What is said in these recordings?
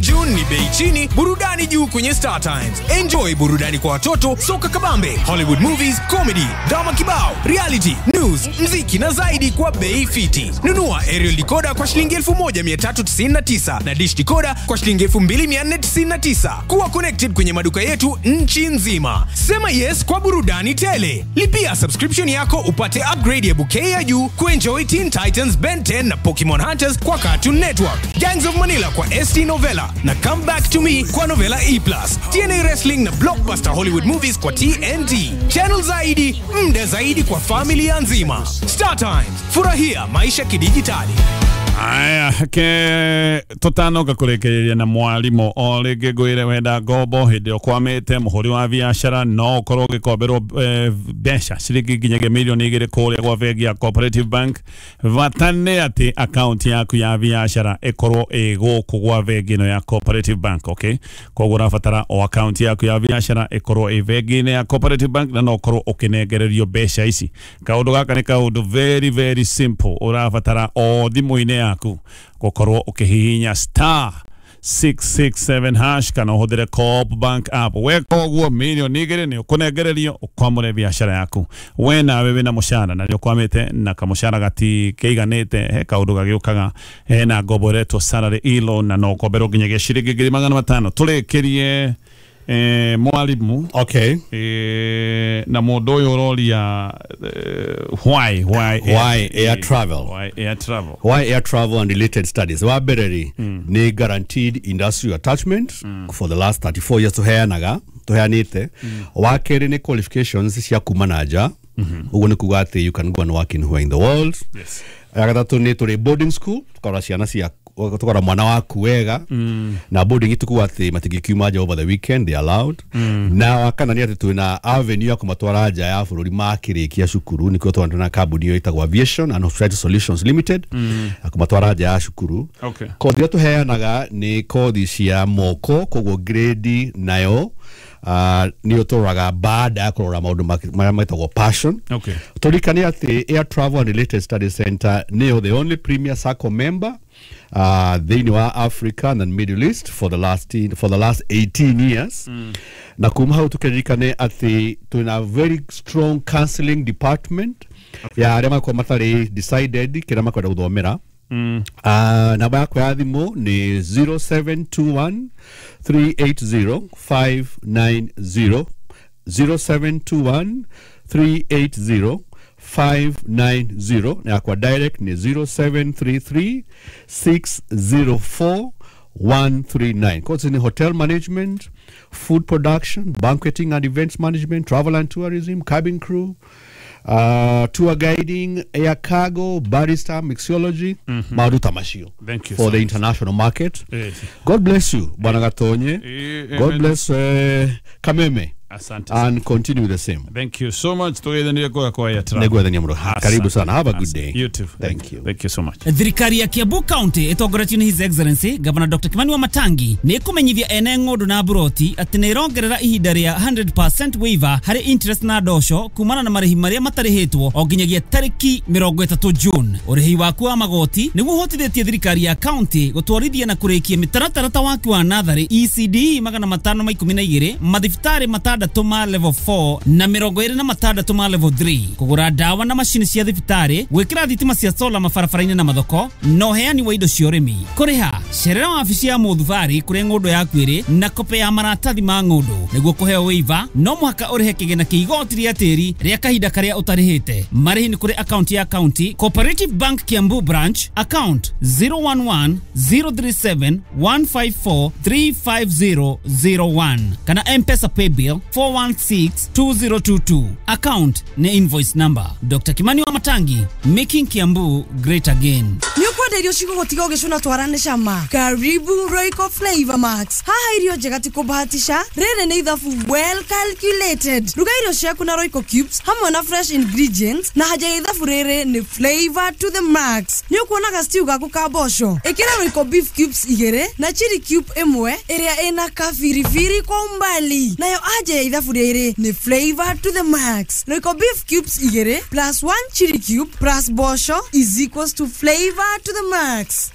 June ni bei chini, burudani juu kwenye Star Times. Enjoy burudani kwa watoto, soka kabambe, Hollywood movies, comedy, drama kibao, reality, news, mziki na zaidi kwa bei fiti. Nunua aerial decoder kwa shilingi 1399 na dish decoder kwa shilingi 2499. Kuwa connected kwenye maduka yetu nchi nzima. Sema yes kwa burudani tele. Lipia subscription yako upate upgrade ya bouquet ya juu kuenjoy Teen Titans, Ben 10 na Pokemon Hunters kwa Cartoon Network, Gangs of Manila kwa ST Novella na Come Back to Me kwa Novella E+, TNA Wrestling na Blockbuster Hollywood Movies kwa TNT. Channel zaidi, mda zaidi kwa familia nzima. Star Times, furahia maisha kidijitali. Aya, ke tutanoka kurekereria na mwarimu o rĩngĩ ngwĩre wenda ngombo hĩndĩ ĩrĩa ũkwamĩte mũhũri wa biacara no ũkorwo ũgĩkomberwo mbeca ciringi nginyagia mirioni 2 kũrĩa gwa bengi ya Cooperative Bank. Bata nĩ atĩ akaunti yaku ya biacara ĩkorwo ĩ gũkũ gwa bengi ĩno ya Cooperative Bank. Okay, koguo ũrabatara o akaunti yaku ya biacara ĩkorwo ĩ bengi-inĩ ya Cooperative Bank na no ũkorwo ũkĩnengererio mbeca ici. Kaũndũ gaka nĩ kaũndũ very very simple, ũrabatara o thimũ-inĩ yaku gukorwo ukihihinya star 667 hash kana ũhũthĩre Co-op Bank app. Weka ũguo mirioni 2 nĩ ũkũnengererio ũkwamũre biacara yaku. We nawe wĩna mũcara na nĩ ũkwamĩte na kamũcara gatikĩiganĩte, he kaũndũ gagĩũkaga hena ngombo ĩretwo salary e-loan na no ũkomberwo nginyagia ciringi 500,000. Tũrĩkĩrie mwarimu. Okay. Na mũndũ ũyũ ũroria why air travel? Why air travel? Why air travel and related studies? Wa mbere rĩ, nĩ guaranteed industrial attachment for the last 34 years tũheanaga tũheanĩte. Wa kerĩ nĩ qualifications cia kuma na nja, ũguo nĩ kuga atĩ you can go and work anywhere in the world. Yes. Ya gatatũ nĩ tũrĩ boarding school, tũkarora ciana cia tũkarora mwana waku wega, na boarding itukuga atĩ matingĩkiuma nja over the weekend, they allowed. Na wa kana nĩ atĩ twĩna avenue ya kũmatwara nja ya bũrũri makĩrĩkia cukuru, nĩkĩo twana na kambuni ĩyo ĩtagwo Aviation and Hospitality Solutions Limited, ya kũmatwara nja ya cukuru. Okay. Kothi iria tũheanaga nĩ kothi cia moko, koguo grade nayo nĩyo tũroraga baada ya kũrora maũndũ marĩa metagwo passion. Okay. Tũririkane atĩ Air Travel and Related Studies Center nĩyo the only premier SACCO member thĩinĩ wa Africa and Middle East for the last 18 years. Na kuma hau tũkĩririkane atĩ twĩna very strong counseling department ya arĩa makoragwo matarĩ decided kĩrĩa makwenda gũthomera. Namba yakwa ya thimũ nĩ 0721 380 590, 0721 380 590, na yakwa direct ni 0733 604 139. Courses in hotel management, food production, banqueting and events management, travel and tourism, cabin crew, tour guiding, air cargo, barista, mixology, maũndũ ta macio. Thank you for so the much. international market. Yes. God bless you, Bwana Gatonye. God Amen. bless Kameme. Asante. And continue the same. Thank you so much. Tũgeithanie kũrĩa kwa Air Travel. Nĩngwethania mũno. Karibu sana. Have a good day. You too. Thank you. Thank you so much. Thirikari ya Kiambu County ĩtongoretio nĩ His Excellency Governor Dr. Kimani Wamatangi nĩ ĩkũmenyithia ene ng'ũndũ na mburoti atĩ nĩ ĩrongerera ihinda rĩa 100% waiver harĩ interest na ndosho kumana na marĩhi marĩa matarĩhĩtwo o nginyagia tarĩki 30 June. Ũrĩhi waku wa magoti nĩguo ũhotithĩtie thirikari ya county gũtwarithia na kũrĩkia mĩtaratara ta waki wa natharĩ ECD 512, mathibitarĩ 6 ma level 4 na 26 ma level 3, kũgũra ndawa na macini cia thibitarĩ, gwĩkĩra thitima cia sola mabarabara-inĩ na mathoko, na ũheani wa indo cia ũrĩmi. Kũrĩha cerera wabici ya mũthubarĩ kũrĩa ng'ũndũ yaku ĩrĩ na kope ya maratathi ma ng'ũndũ. Nĩguo kũheo waiver no mũhaka ũrĩhe kĩgĩna kĩa igoti rĩa tĩri rĩa kahinda karĩa ũtarĩhĩte. Marĩhi nĩ kũrĩ akaunti ya county Cooperative Bank Kiambu branch, account 011 037 154 35001 kana M-Pesa paybill 4162022. Account ni invoice number. Dr. Kimani Wamatangi, making Kiambu great again. Nĩũkwenda irio cigũgũtiga ũgĩcũna twarane cama? Karibu Royco Flavor Max. Haha irio njega ti kũbahatisha, rĩrĩ nĩ ithabu well calculated. Ruga irio ciaku na Royco cubes hamwe na fresh ingredients, na haja ya ithabu rĩrĩ nĩ flavor to the max. Nĩũkuonaga stew gaku ka mboco, ĩkĩra Royco beef cubes 2 na chili cube 1 ĩrĩa ĩna kabiribiri kwa umbali, nayo aja ya ithabu rĩrĩ nĩ flavor to the max. Royco beef cubes 2 plus 1 chili cube plus mboco is equals to flavor to the the max.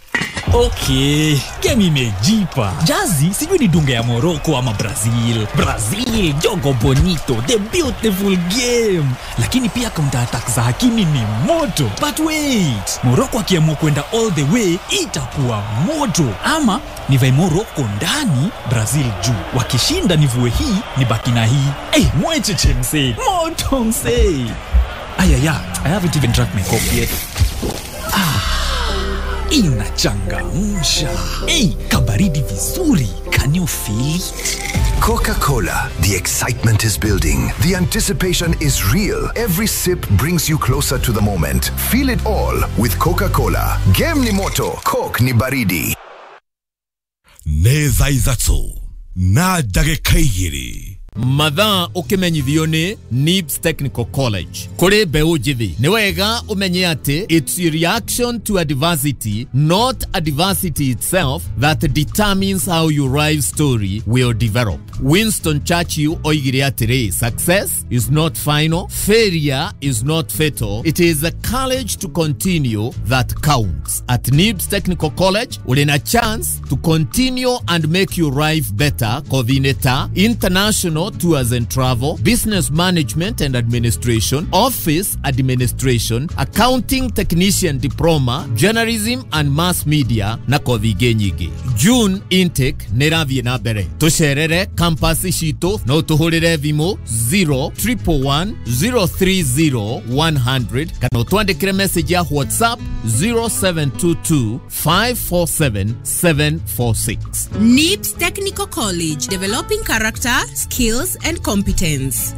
Okay, game imejipa. Jazi sijui ni dunga ya Morocco ama Brazil. Brazil, jogo bonito, the beautiful game. Lakini pia counter attack za Hakimi ni moto. But wait, Morocco akiamua kwenda all the way itakuwa moto. Ama nivae Morocco ndani, Brazil juu. Wakishinda nivue hii, nibaki na hii. Eh, mwecheche msee. Moto msee. Ayaya, I haven't even drank my coffee yet. Inachangamsha. Hey, kabaridi vizuri. Can you feel it? Coca-Cola. The excitement is building. The anticipation is real. Every sip brings you closer to the moment. Feel it all with Coca-Cola. Game ni moto, Coke ni baridi. Nĩ thaa ithatũ na ndagĩka igĩrĩ. Mathaa ũkĩmenyithio nĩ NIBS Technical College. Kũrĩ mbeũ njĩthĩ nĩ wega ũmenye atĩ it's a reaction to adversity, not adversity itself, that determines how your life story will develop. Winston Churchill oigire atĩrĩ, success is not final, failure is not fatal, it is the courage to continue that counts. At NIBS Technical College ũrĩ na chance to continue and make your life better. Coordinator, international tours and travel, business management and administration, office administration, accounting technician diploma, journalism and mass media na kothi ingĩ nyingĩ. June intake nĩ ĩrathiĩ na mbere. Tũcerere campus citũ no tũhũrĩre thimũ 0111 030 100 kana ũtwandĩkĩre message ya WhatsApp 0722 547 746. NIBS Technical College, developing character, skills and competence.